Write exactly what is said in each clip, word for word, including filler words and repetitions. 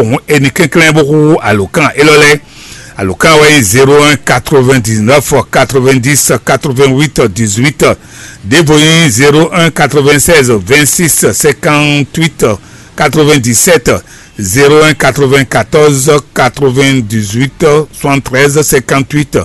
Hǔn è nǐ kɛnklɛ́n bó xú alǒkan élɔ́ lɛ́ɛ. Alǒkan wɛ nyí zéro un quatre-vingt-dix-neuf quatre-vingt-dix quatre-vingt-huit dix-huit. Ɖěvo nyí zéro un quatre-vingt-seize vingt-six cinquante-huit quatre-vingt-dix-sept, zéro un quatre-vingt-quatorze quatre-vingt-dix-huit soixante-treize cinquante-huit.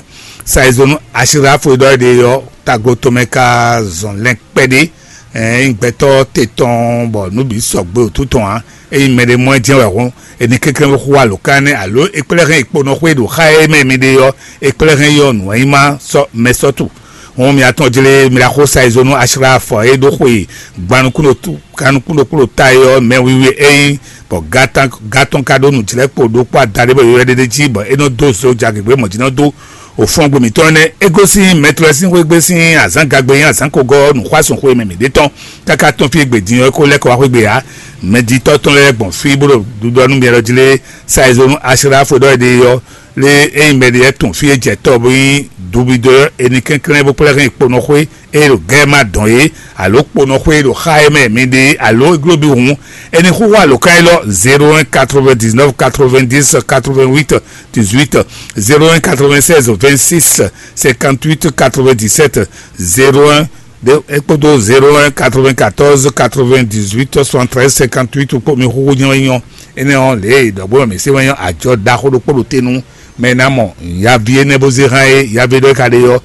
Sa e zɔn nú Asirafu e ɖɔ é ɖe ɔ́, tago tɔn mɛ ka zɔn lɛn kpɛɖé. Ényí gbɛtɔ́ te tɔn bɔ nǔ bǐ sɔgbe wǒtu tɔn ǎ, ényí mɛɖé mɔ ɛ jɛ́n wɛ hɔn, è nǐ kɛnklɛ́n xú alǒkan énɛ́, alo è kplɛ́ hɛn è kpo nɔ xwé ɖo xá e mɛ mi ɖe ɔ́, è kplɛ́ hɛn yɔ nǔ e nyí má sɔ́ mɛ sɔ́ tu. Hɔn mi atɔn jlé mi ɖaxó sa e zɔn nú Asirafu e ɖó xwe gban nukún ɖo ta é ɔ́ mɛ wiwi e é nyí, bɔ gátɔn ka ɖó nǔjlɛ́kpo ɖokpó adaɖé bɔ yɔywɛ ɖé ɖ'é jí, bɔ é nɔ dó zo ja gěgbe mɔ̌ jí nɔ dó òfɔngbe mǐtɔn nɛ́. É gosín mɛtɔ́ lɛ́ɛ sín xwégbé sín azǎngagbe nyí azǎn kogɔ́ nǔxwásún xwe mɛ mǐɖé tɔn, káká tɔ́n fí e gbe din ɔ́ é ko lɛ́ kɔ wá xwé gbe ǎ. Mɛjitɔ́ tɔn lɛ́ɛ gbɔn fí bó ɖo ɖuɖɔ nú myɔ jí lé. Sa e zɔn nú Asirafu ɖɔ é ɖe ɔ́, lé ényí mɛ ɖé lɛ́ɛ tunwun fí e jɛ tɔ́ bó nyí dubido ɔ́, è nǐ kɛnklɛ́n bó kplá hɛn kponɔxwé e ɖo gɛ́ ma dɔn é, alo kponɔxwé e ɖo xá e mɛ mi ɖe é, alo é gló bí hǔn, è nǐ xúxú alǒkan élɔ́: zéro un quatre-vingt-dix-neuf quatre-vingt-dix quatre-vingt-huit dix-huit, zéro un quatre-vingt-seize vingt-six cinquante-huit quatre-vingt-dix-sept, zéro un ɖe é kpódó zéro un quatre-vingt-quatorze quatre-vingt-dix-huit soixante-treize cinquante-huit kpó mi xúxú nyɔ́ nyɔ́. Énɛ́ ɔ́, lě e ɖɔ̌gbó mɛ mǐ se wɛ nyɔ́ ajɔ ɖaxó ɖokpó ɖo te nú mɛ e ná mɔ yaví énɛ́ bó zé hán é, yaví ɖɔ é ka ɖe ɔ́,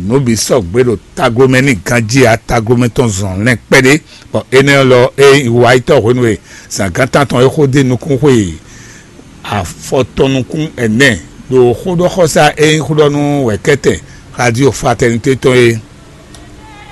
nǔ bǐ sɔgbe ɖo taglomɛ n'i ganjí ǎ, taglomɛ tɔn zɔn lɛn kpɛɖé. Bɔ énɛ́ lɔ é nyí wayítɔ́ hwenu e zǎngán tántɔn é xó dó nukún xwe afɔtɔn nukún ɛnɛ ɖo xóɖɔxɔsá e nyí xó ɖɔ nú wɛ̌kɛ́tɛn Radio Fraternité tɔn é.